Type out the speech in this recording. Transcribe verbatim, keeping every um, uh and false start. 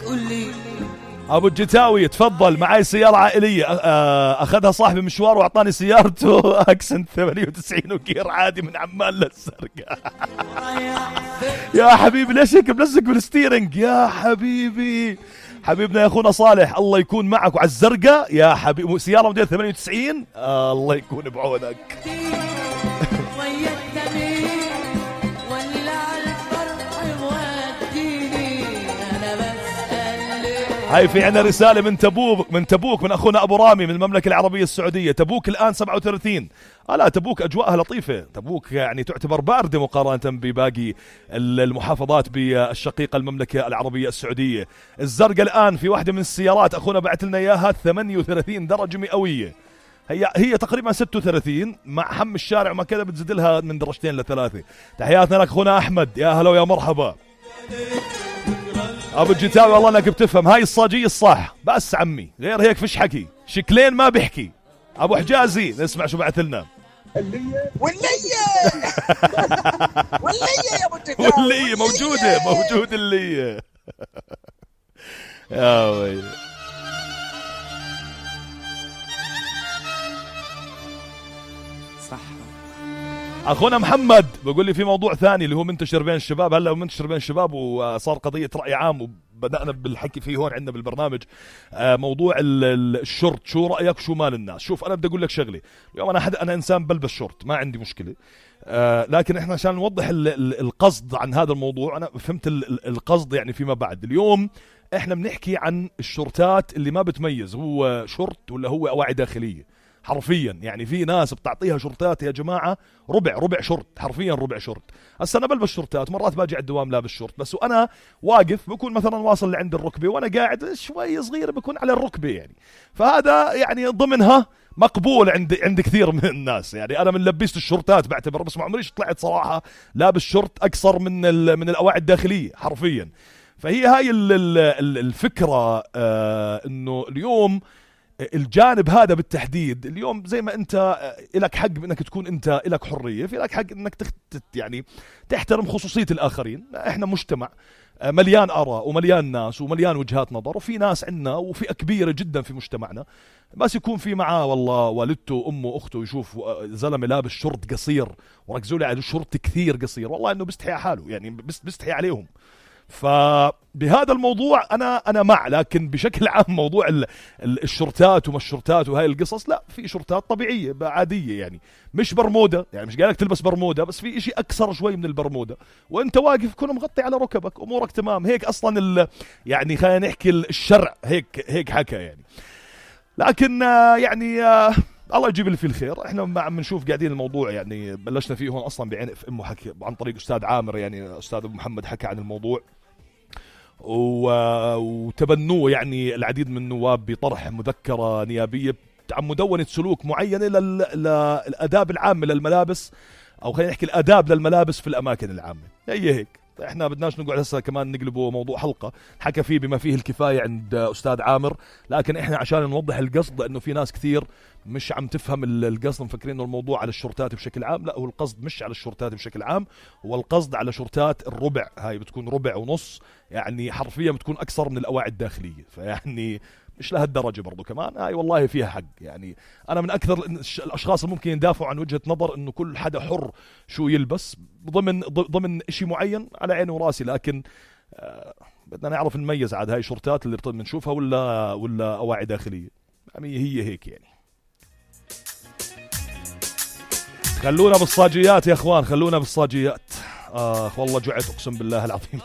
قولي ابو الجتاوي تفضل. معي سيارة عائلية اخذها صاحبي مشوار واعطاني سيارته اكسنت ثمانية وتسعين وكير عادي من عمان للزرقاء. يا حبيبي ليش هيك ملزق بالستيرنج يا حبيبي؟ حبيبنا يا اخونا صالح الله يكون معك. وعلى الزرقاء يا حبيبي سيارة موديل ثمانية وتسعين آه الله يكون بعونك. هاي في عنا رسالة من تبوك من تبوك من أخونا أبو رامي من المملكة العربية السعودية. تبوك الآن سبعة وثلاثين. آه لا تبوك أجواءها لطيفة. تبوك يعني تعتبر باردة مقارنة بباقي المحافظات بالشقيقة المملكة العربية السعودية. الزرقاء الآن في واحدة من السيارات أخونا بعت لنا إياها ثمانية وثلاثين درجة مئوية. هي هي تقريبا ستة وثلاثين مع حم الشارع وما كذا بتزيد لها من درجتين لثلاثة. تحياتنا لك أخونا أحمد يا هلا ويا مرحبا. ابو الجتاوي والله انك بتفهم هاي الصاجية الصح بس عمي غير هيك فيش حكي. شكلين ما بيحكي. ابو حجازي نسمع شو بعث لنا. واللية واللية واللية يا ابو الجتاوي واللية موجودة موجود اللية. يا ويلي صح. اخونا محمد بقول لي في موضوع ثاني اللي هو منتشر بين الشباب. هلا منتشر بين الشباب وصار قضيه راي عام وبدانا بالحكي فيه هون عندنا بالبرنامج. موضوع الشورت شو رايك شو مال الناس؟ شوف انا بدي اقول لك شغله. اليوم انا حد انا انسان بلبس شورت ما عندي مشكله. لكن احنا عشان نوضح القصد عن هذا الموضوع انا فهمت القصد يعني فيما بعد. اليوم احنا بنحكي عن الشورتات اللي ما بتميز هو شورت ولا هو اواعي داخليه حرفيا. يعني في ناس بتعطيها شورتات يا جماعة ربع ربع شورت حرفيا ربع شورت. هسا أنا بلبس شورتات مرات باجي على الدوام لابس شورت بس وأنا واقف بكون مثلا واصل لعند الركبة وأنا قاعد شوي صغير بكون على الركبة يعني. فهذا يعني ضمنها مقبول عند عند كثير من الناس. يعني أنا من لبست الشورتات بعتبر بس ما عمريش طلعت صراحة لابس شورت أكثر من من الأواعي الداخلية حرفيا. فهي هاي الفكرة آه إنه اليوم الجانب هذا بالتحديد اليوم زي ما انت لك حق انك تكون انت لك حرية في لك حق انك تخت يعني تحترم خصوصية الاخرين. احنا مجتمع مليان اراء ومليان ناس ومليان وجهات نظر وفي ناس عنا وفئة كبيرة جدا في مجتمعنا بس يكون في معاه والله والدته امه اخته يشوف زلمة لابس شورت قصير وركزوا لي على الشورت كثير قصير والله انه بيستحي على حاله يعني بيستحي عليهم. فبهذا الموضوع أنا أنا مع. لكن بشكل عام موضوع الشورتات وما الشورتات وهاي القصص لا في شورتات طبيعية عادية يعني مش برمودة. يعني مش قالك تلبس برمودة بس في إشي أكثر شوي من البرمودة وأنت واقف كونه مغطي على ركبك أمورك تمام. هيك أصلا يعني خلينا نحكي الشرع هيك هيك حكى يعني. لكن يعني الله يجيب اللي فيه الخير. احنا ما عم نشوف قاعدين الموضوع يعني بلشنا فيه هون اصلا بعين في امه حكي عن طريق استاذ عامر يعني استاذ ابو محمد حكى عن الموضوع وتبنوه يعني العديد من النواب بطرح مذكرة نيابية عن مدونة سلوك معينة للآداب العامة للملابس او خلينا نحكي الآداب للملابس في الاماكن العامة. هي هيك احنا بدناش نقعد هسه كمان نقلبه موضوع حلقة حكى فيه بما فيه الكفاية عند استاذ عامر. لكن احنا عشان نوضح القصد لانه في ناس كثير مش عم تفهم القصد مفكرين انه الموضوع على الشورتات بشكل عام. لا هو القصد مش على الشورتات بشكل عام هو القصد على شورتات الربع. هاي بتكون ربع ونص يعني حرفيا بتكون اكثر من الاواعي الداخلية. فيعني مش لهالدرجة برضو كمان هاي والله فيها حق. يعني أنا من أكثر الأشخاص اللي ممكن يدافعوا عن وجهة نظر إنه كل حدا حر شو يلبس ضمن ضمن إشي معين على عيني وراسي. لكن آه بدنا نعرف نميز عاد هاي شورتات اللي بنشوفها ولا ولا أواعي داخلية. يعني هي هيك يعني. خلونا بالصاجيات يا إخوان خلونا بالصاجيات. آه والله جعت أقسم بالله العظيم.